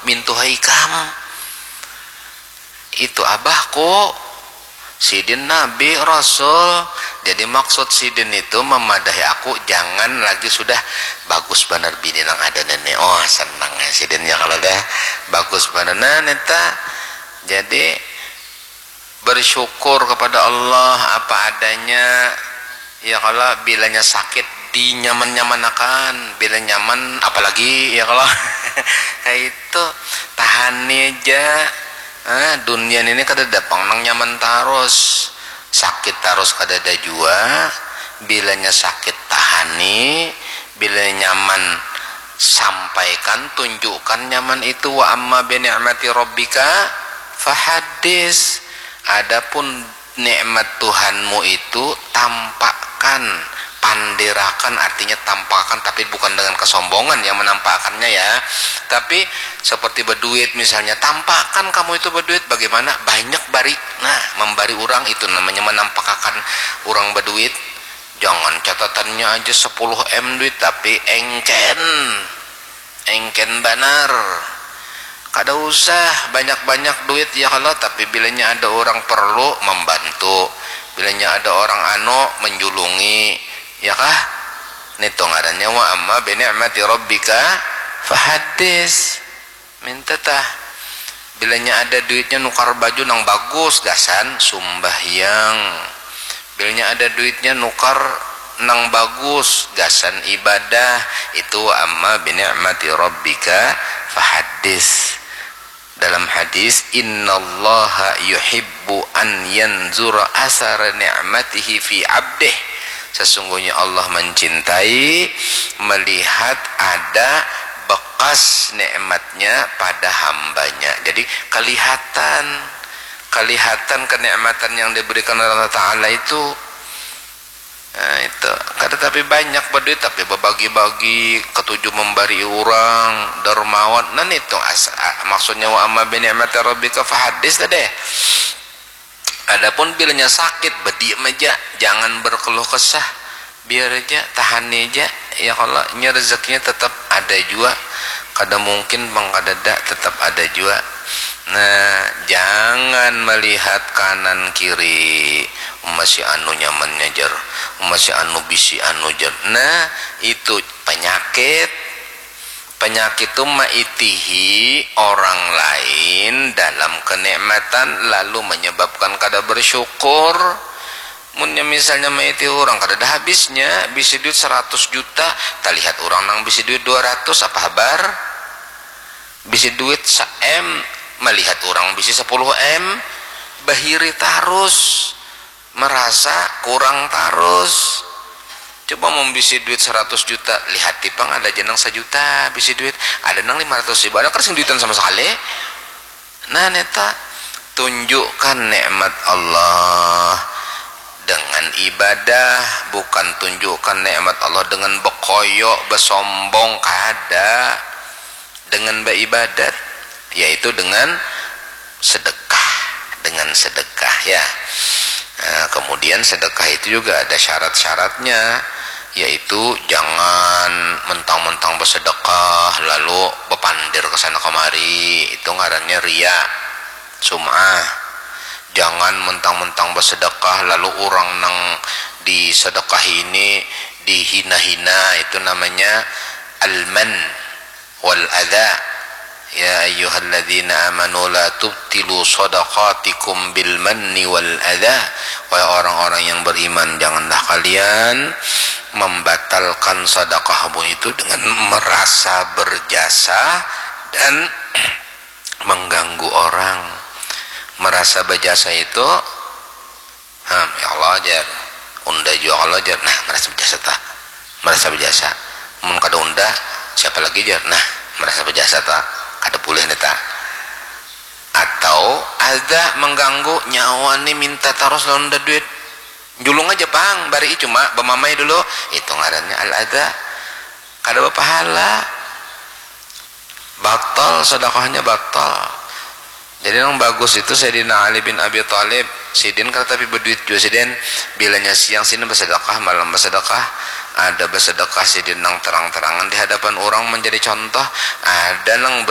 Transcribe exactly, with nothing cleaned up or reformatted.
mintuhai ikam. Itu abahku, sidin nabi, rasul. Jadi maksud sidin itu memadahi aku, jangan lagi sudah, bagus banar bini nang ada nini. Oh, senang ya sidin ya kalau dah bagus banar. Nah, neta. Jadi bersyukur kepada Allah apa adanya. Ya kalau bilanya sakit dinyaman-nyamanakan, bila nyaman apalagi ya kalau kayak itu, tahani aja. Ah, dunia ini kada ada pang nang nyaman tarus, sakit tarus kada ada jua. Bilanya sakit tahani, bila nyaman sampaikan, tunjukkan nyaman itu. Wa amma bi ni'mati rabbika fahaddis. Adapun nikmat Tuhanmu itu tampakkan, pandirakan, artinya tampakkan, tapi bukan dengan kesombongan yang menampakkannya ya, tapi seperti berduit misalnya, tampakkan kamu itu berduit, bagaimana banyak bari, nah, membari orang itu namanya menampakkan orang berduit. Jangan catatannya aja sepuluh M duit tapi engken, engken banar. Kada usah banyak-banyak duit ya kalau, tapi bilanya ada orang perlu, membantu. Bilanya ada orang anu, menjulungi, ya kah? Nitu ngarannya wa amma bi ni'mati rabbika fahaddis. Minta tah. Bilanya ada duitnya nukar baju nang bagus, gasan sumbahyang. Bilanya ada duitnya nukar nang bagus, gasan ibadah. Itu wa amma bi ni'mati rabbika fahaddis. Dalam hadis, innallaha yuhibbu an yanzura asara ni'matihi fi abdih. Sesungguhnya Allah mencintai melihat ada bekas nikmatnya pada hambanya. Jadi kelihatan, kelihatan kenikmatan yang diberikan oleh Allah Ta'ala itu. Nah, itu. Kada tapi banyak berduit, tapi berbagi-bagi, ketuju memberi orang, dermawan. Nah, itu as- a- maksudnya wa amma bi ni'mati rabbika fahaddis tadi. Adapun bilanya sakit, bediam aja, jangan berkeluh kesah, biar aja, tahani aja. Ya kalau nya rezekinya tetap ada jua, kada mungkin bang kadada, tetap ada jua. Nah, jangan melihat kanan kiri, uma si anu nyamannya jar, uma si anu bisi anu jar. Nah, itu penyakit. Penyakit tu maitihi orang lain dalam kenikmatan lalu menyebabkan kada bersyukur. Munnya misalnya maitihi orang kada ada habisnya, bisi duit seratus juta, talihat orang nang bisi duit dua ratus, apa habar? Bisi duit sa-M, melihat orang bisi sepuluh M, bahiri tarus, merasa kurang tarus. Coba mun bisi duit seratus juta, lihati pang, ada ja nang sajuta bisi duit, ada nang lima ratus ribu, ada kada sing duitan sama sekali. Nah, neta, tunjukkan nikmat Allah dengan ibadah, bukan tunjukkan nikmat Allah dengan bekoyok, besombong, kada. Dengan beribadat, yaitu dengan sedekah, dengan sedekah ya. Nah, kemudian sedekah itu juga ada syarat-syaratnya, yaitu jangan mentang-mentang bersedekah lalu bepandir ke sana kemari, itu ngarannya ria, sum'ah. Jangan mentang-mentang bersedekah lalu orang nang disedekah ini dihina-hina, itu namanya alman wal adha. Ya ayyuhalladzina amanu la tubtilu sadaqatikum bil manni wal adha. Wahai orang-orang yang beriman, janganlah kalian membatalkan sedekahmu itu dengan merasa berjasa dan mengganggu orang. Merasa berjasa itu, hmm, ya Allah jar, unda jua kalau jar, nah, merasa berjasa ta, merasa berjasa. Mun kada unda, siapa lagi jar, nah, merasa berjasa ta, kada boleh nih ta. Atau ada mengganggu nyawa nih, minta tarus lawan unda duit, julung aja pang, bari cuma bamamai dulu, itu ngarannya al ada. Kada berpahala, batal sedekahnya, batal. Jadi nang bagus itu Sayyidina Ali bin Abi Thalib, sidin kada tapi berduit jua sidin, bilanya siang sidin bersedekah, malam bersedekah, ada bersedekah sidin nang terang-terangan di hadapan orang menjadi contoh, ada nang